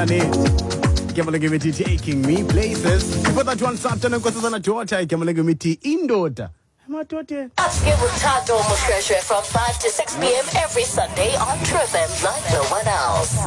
Janet. Igama lengemithi Taking Me Places. Before that one, Sapta Nkosazana Daughter. Igama lengemithi Indoda. Emadodeni. Upscale with Tato Moshoeshoe from 5 to 6 p.m. every Sunday on True FM like no one else.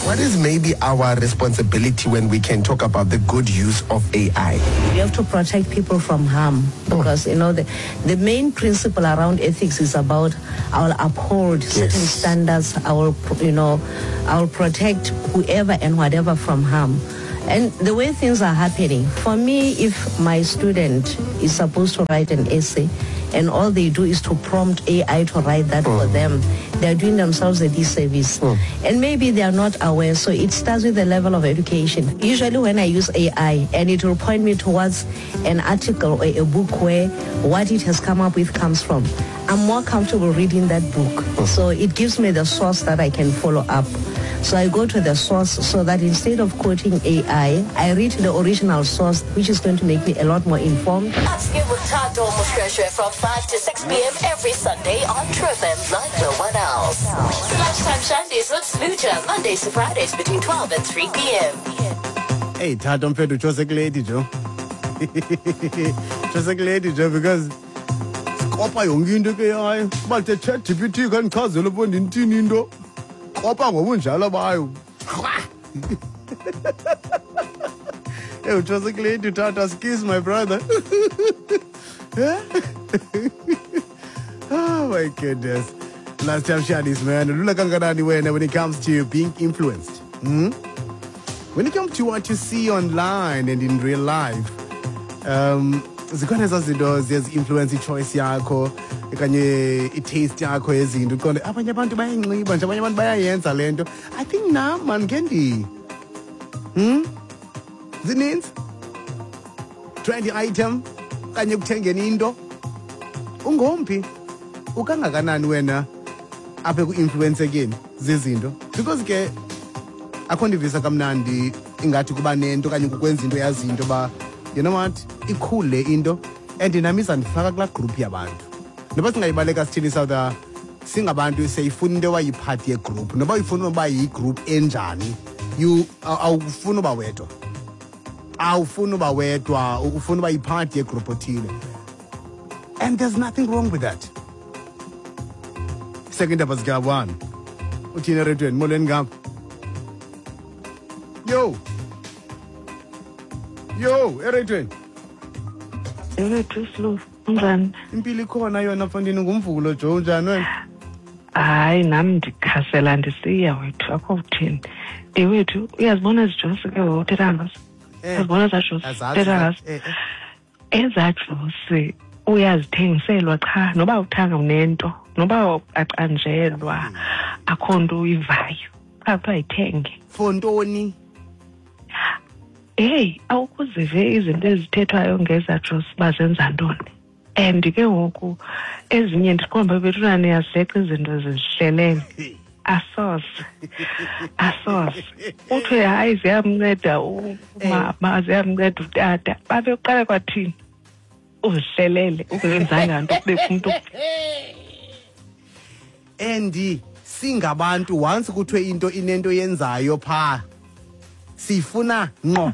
What is maybe our responsibility when we can talk about the good use of AI? You have to protect people from harm because, you know, the main principle around ethics is about I will uphold certain standards, I will, you know, I will protect whoever and whatever from harm. And the way things are happening, for me, if my student is supposed to write an essay and all they do is to prompt AI to write that for them, they are doing themselves a disservice. And maybe they are not aware. So it starts with the level of education. Usually when I use AI, and it will point me towards an article or a book where what it has come up with comes from, I'm more comfortable reading that book. So it gives me the source that I can follow up. So I go to the source so that instead of quoting AI, I read the original source, which is going to make me a lot more informed. Upscale with Tato Moshoeshoe from 5 to 6 p.m. every Sunday on True FM like no one else. Lunchtime Shandies with Smoocha, Mondays to Fridays between 12 and 3 p.m. Hey, Tato mfethu Joseph Lady Joe. Joseph Lady Joe because kopa yonke into ke yayo. Uba the ChatGPT kandichazela uba ndintini into. Kopa ngobunjalo bayo. Hey, Joseph Lady Tata, excuse my brother. Oh my goodness. Last time Shadis, man. Lula kangakanani wena when it comes to being influenced. When it comes to what you see online and in real life, zikhona ezaa zinto ziye zi-influence i-choice yakho okanye i-taste yakho yezinto. Uqonde abanye abantu bayayinxiba nje, abanye abantu bayayenza le nto. I think nam mandikhe ndi. Zininzi. Trendy item okanye ekuthengeni into. Ungomphi? Ukangakanani wena apha eku-influensekeni zizinto? Because ke akho ndivisa kamnandi ingathi kuba nento okanye kukwenza into yazinto ba, you know what, ikhule le into and nam izandifaka kulaa group yabantu. Noba singayibaleka sithini South, singabantu siyayifuna into ewayiphathi yegroup. Noba uyifuna uba yigroup enjani, you awufuni uba wedwa. Awufuni uba wedwa, ufuna uba yiphathi yegroup othile. And there's nothing wrong with that. Second up is Gabwan. Uthini eredweni? Molweni ngapha. Yo. Yo, eredweni. Ewethu Slow, unjani? Impilo ikhona yona mfondini, ngumvulo jo, unjani wena? Hayi, nam ndikhasela ndisiya wethu, akho kuthini. Ewethu, uyazibona ezi josi ke ngoku uthetha ngazo? Uyazibona ezaa josi? Azazi, Uthetha ngazo? Ezaa josi uyazithengiselwa qha, noba uthanga unento, noba acanjelwa, akho nto uyivayo. Qha kuthiwa yithenge. For ntoni? Hey, awukuzive izinto ezithethwayo ngezaa josi uba zenza ntoni. And ke ngoku ezinye ndiqonda uba bethuna niyazileqa izinto zizihlelele. Asoze. Asoze. Uthiwe hayi ziyamnceda umama, ziyamnceda utata. Babe uqala kwathini? Uzihlelele, ungenzanga nto kubekho umntu. And singabantu once kuthiwe into inento yenzayo pha, sifuna ngqo.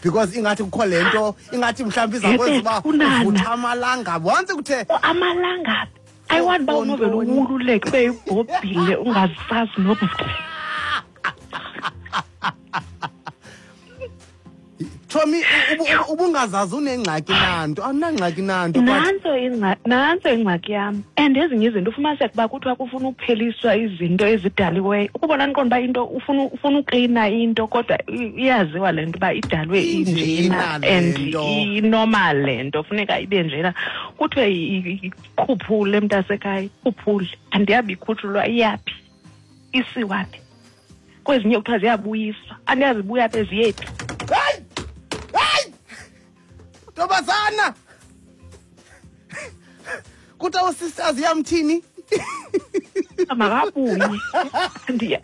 Because ingathi kukho le nto, ingathi mhlawumbi iza kwenza uba Yebethunana. uvutha amalanga. Once kuthe Oh, amalanga. I want uba unovele uwululeke, ube yibhobhile, ungazisazi noba Chomi, ubungazazi unengxaki nanto, awunangxaki nanto, but Nantso nantso ingxaki yam. And ezinye izinto ufumaniseka uba kuthiwa kufuna ukupheliswa izinto ezidaliweyo. Ukubona ndiqonda uba into ufuna uklina into, kodwa iyaziwa le nto uba idalwe Injena injena le and nto. inormal le nto, funeka ibe njena. Kuthiwe ikhuphule mntasekhaya, ikhuphule. Andiyabi ikhutshulwa iyaphi? Isiwa phi? Kwezinye kuthiwa ziyabuyiswa. Andiyazi ibuya phi, ziyephi? Hayi! Hayi! Ntombazana! Kuthiwa usisters iyamthini? Makabuye.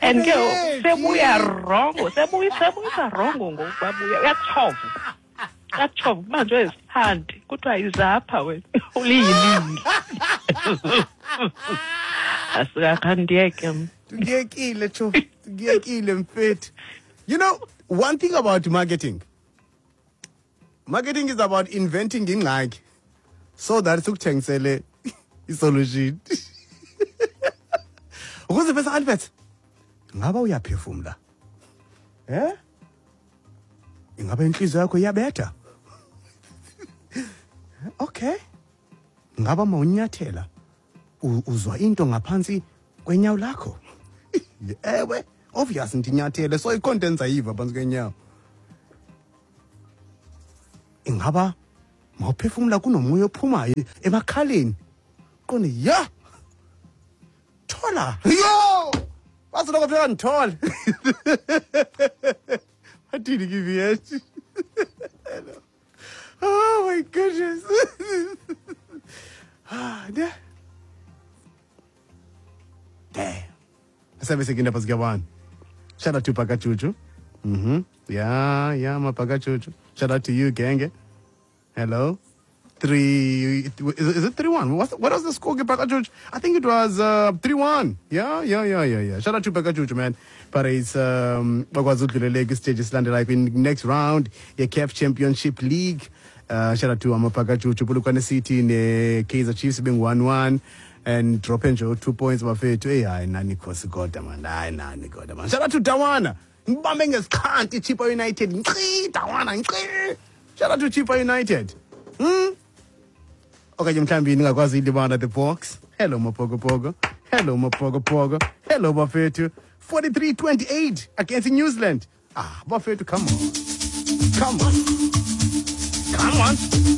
And ke Hey, sebuya gee. wrongo, sebuyisa wrongo ngoku babuya. Uyatshova. Uyatshova kubanjwe izithandi. Kuthiwa izapha wena. Uliyilili. Asikakhandiyeke mna. Ndiyekile, tsho. Ndiyekile mfethu. You know, one thing about marketing. Marketing is about inventing ingxaki so that sikuthengisele isolution. Ukuze bese adverts. Ngaba uyaphefumla? Eh? Ingaba inhliziyo yakho iyabetha? Okay. Ngaba mawunyathela uzwa into ngaphansi kwenyawo lakho? Ewe, obvious ndinyathele so i-contents ayiva phantsi kwenyawo. Ingaba mawuphefumla kunomoya ophumayo emakhaleni? Qonde ya. Thola. Yo! Basoloko phela ndithole. Bathini ke? Oh my goodness. Ah, yeah. Damn. 7 second past 1. Shout out to Pakachuchu. Yeah, my Pakachuchu. Shout out to you, gang. Hello. 3, is it 3-1? What was the score, Pakachuchu? I think it was 3-1. Yeah. Shout out to Pakachuchu, man. But it's bakwazi udlulele kwi-stage esilandelayo kwi-next round ye-CAF Championship League. Shout out to Amapakachuchu, Polokwane City ne-Kaizer Chiefs being 1-1 and dropping nje 2 points, bafethu. Hey, hayi nani khosi kodwa man, hayi nani kodwa man. Shout out to Dawana. Ngibambe ngesikhanti iChippa United. Nqi Dawana, nqi. Shout out to Chippa United. Okanye mhlawumbi ningakwazi ilibala the box. Hello Mapogopogo. Hello Mapogopogo. Hello bafethu. 43-28 against New Zealand. Ah, bafethu, come on. Come on. Come on.